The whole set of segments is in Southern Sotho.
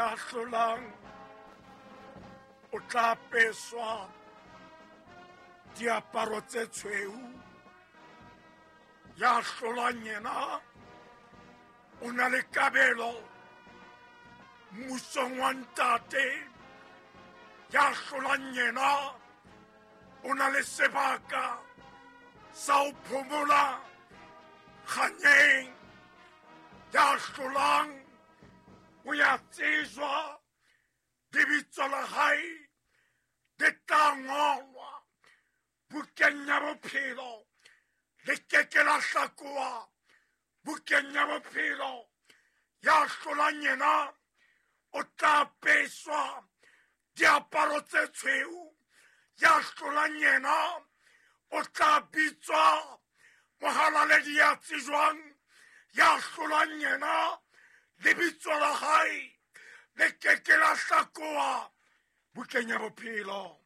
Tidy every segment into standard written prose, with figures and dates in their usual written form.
Ya hlolang o tla apeswa diaparo tse tshweu. Ya hlolang yena o na le kabelo mmusong wa ntate. Ya hlolang yena o na le sebaka sa ho phomola kganyeng. Ya hlolang o ya tsejwa, lebitso la hae le tla ngolwa bukeng ya bophelo, le ke ke la hlakoha bukeng ya bophelo. Ya hlolang yena o tla apeswa diaparo tse tshweu. Ya hlolang yena o tla bitswa mohalaledi ya tsejwang. Ya hlolang yena lebitso la hae le ke ke la hlakoha bukeng ya bophelo.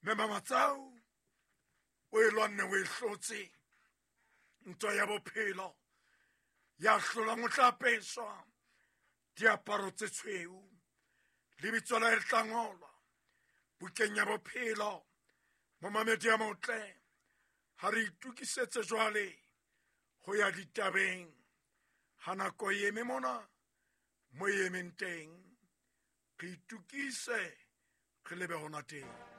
Mme Mamatsau o e lwanne, o e hlotse ntwa ya bophelo. Ya hlolang o tla apeswa diaparo tse tshweu, lebitso la hae le tla ngolwa bukeng ya bophelo. Momamedi ya motle, ha re itokisetse jwale ho ya ditabeng. Ha nako e eme mona mo e emeng teng, re itokise re lebe hona teng.